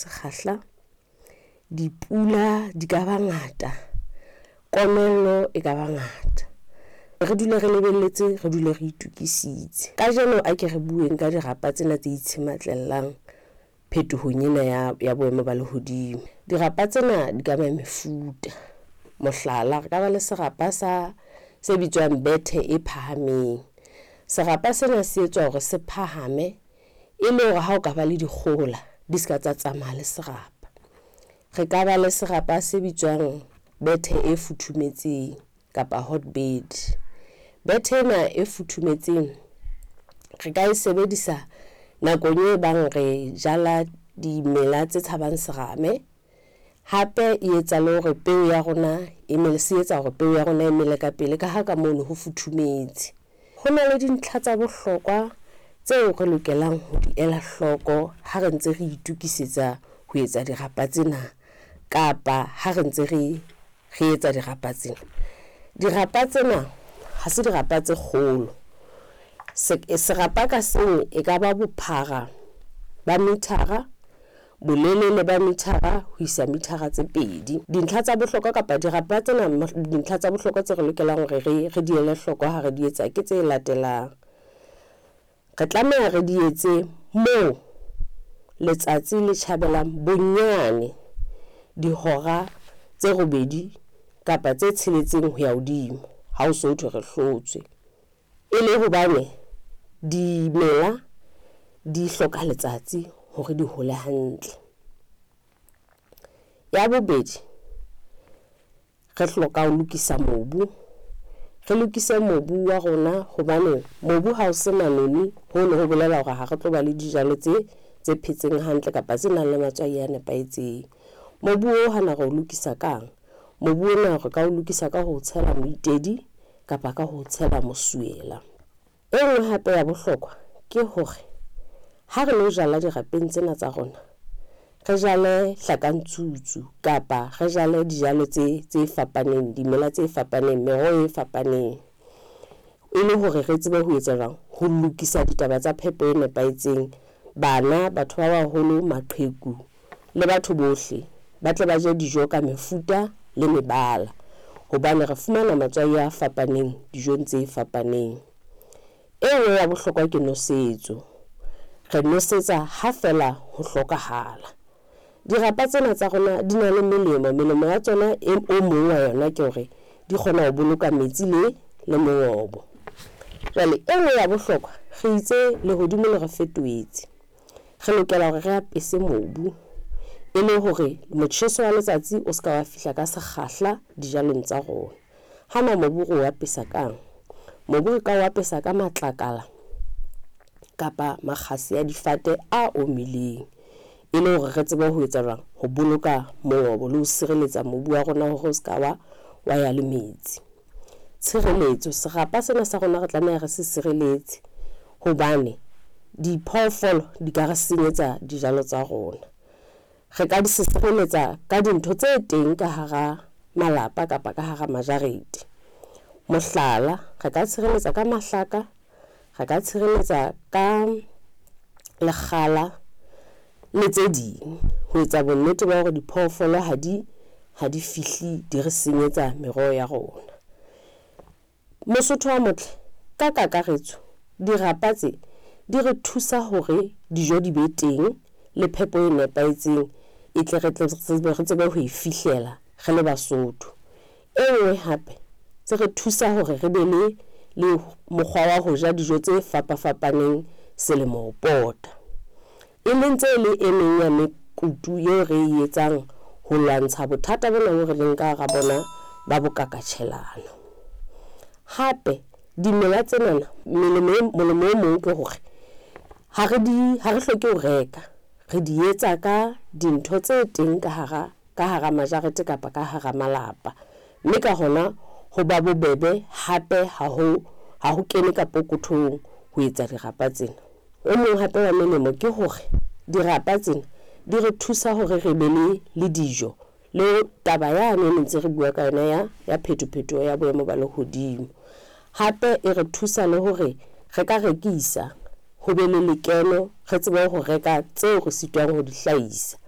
Sekgahla, dipula di ka ba ngata, komello e ka ba ngata. Re dule re lebelletse, re dule re itokisitse. Kajeno a ke re bueng ka dirapa tsena tse itshematlelang phetohong ena ya boemo ba lehodimo. Dirapa tsena di ka ba mefuta, mohlala, re ka ba le serapa sa se bitswang bethe e phahameng. Serapa sena se etswa hore se phahame e le hore ha o ka ba le dikgohola di se ka tsa tsamaya le serapa. Re ka ba le serapa se bitswang bethe e futhumetseng kapa hotbed. Bethe ena e futhumetseng re ka e sebedisa nakong e bang re jala dimela tse tshabang serame. Hape e etsa le hore peo ya rona e mele, se etsa hore peo ya rona e mele ka pele ka ha ka mono ho futhumetse. Ho na le dintlha tsa bohlokwa tseo re lokelang ho di ela hloko ha re ntse re itokisetsa ho etsa dirapa tsena kapa ha re ntse re etsa dirapa tsena. Dirapa tsena ha se dirapa tse kgolo. Serapa ka seng e ka ba bophara ba mithara, bolelele ba mithara ho isa mithara tse pedi. Dintlha tsa bohlokwa kapa dirapa tsena, dintlha tsa bohlokwa tse re lokelang hore re di ele hloko ha re di etsa ke tse latelang. Re tlameha re di etse moo letsatsi le tjhabelang bonyane dihora tse robedi kapa tse tsheletseng ho ya hodimo ha o so thwe re hlotswe. E le hobane dimela di hloka letsatsi hore di hole hantle. Ya bobedi, re hloka ho lokisa mobu, re lokise mobu wa rona hobane mobu ha o se manoni, hono ho bolela hore ha re tlo ba le dijalo tse phetseng hantle kapa tse nang le matswai a nepahetseng. Mobu o hana re o lokisa kang? Mobu ona re ka o lokisa ka ho tshela moitedi kapa ka ho tshela mosuela. E nngwe hape ya bohlokwa ke hore ha re lo jala dirapeng tsena tsa rona, re jale hlakantsutsu kapa re jale dijalo tse fapaneng, dimela tse fapaneng, meroho e fapaneng, e le hore re tsebe ho etsa jwang? Ho lokisa ditaba tsa phepo e nepahetseng. Bana, batho ba baholo, maqheku le batho bohle ba tle ba je dijo ka mefuta le mebala hobane re fumana matswai a fapaneng dijong tse fapaneng. E nngwe ya bohlokwa ke nosetso. Re nosetsa ha feela ho hlokahala. Dirapa tsena tsa rona di na le melemo. Melemo ya tsona e o mong wa yona ke hore di kgona ho boloka metsi le mongobo. Jwale e nngwe ya bohlokwa, re itse lehodimo le re fetohetse. Re lokela hore re apese mobu e le hore motjheso wa letsatsi o se ka wa fihla ka sekgahla dijalong tsa rona. Hana mobu re o apesa kang? Mobu re ka o apesa ka matlakala kapa makgasi a difate a omileng e le hore re tsebe ho etsa jwang? Ho boloka mongobo le ho sireletsa mobu wa rona hore o se ka wa ya le metsi. Tshireletso, serapa sena sa rona re tlameha re se sireletse hobane diphoofolo di ka re senyetsa dijalo tsa rona. Re ka di sireletsa ka dintho tse teng ka hara malapa kapa ka hara majarete. Mohlala, re ka tshireletsa ka mahlaka, re ka tshireletsa ka lekgala le tse ding ho etsa bonnete ba hore diphoofolo ha di fihle di re senyetsa meroho ya rona. Mosotho wa motle, ka kakaretso dirapa tse di re thusa hore dijo di be teng le phepo e nepahetseng e tle re tsebe ho e fihlela re le Basotho. E nngwe hape tse re thusa hore re be le mokgwa wa ho ja dijo tse fapafapaneng selemo ho pota. E leng tse le e meng ya mekutu eo re e etsang ho lwantsha bothata bona bo re leng ka hara bona ba bokakatjhelana. Hape dimela tsenana molemo o mong ke hore ha re hloke ho reka, re di etsa ka dintho tse teng ka hara majarete kapa ka hara malapa. Mme ka hona ho ba bobebe hape ha ho kene ka pokothong ho etsa dirapa tsena. O mong hape wa melemo ke hore dirapa tsena di re thusa hore re be le dijo le taba yane e ntse re bua ka yona ya phetophetoho ya boemo ba lehodimo. Hape e re thusa le hore re ka rekisa ho be le lekeno, re tsebe ho reka tseo re sitwang ho di hlahisa.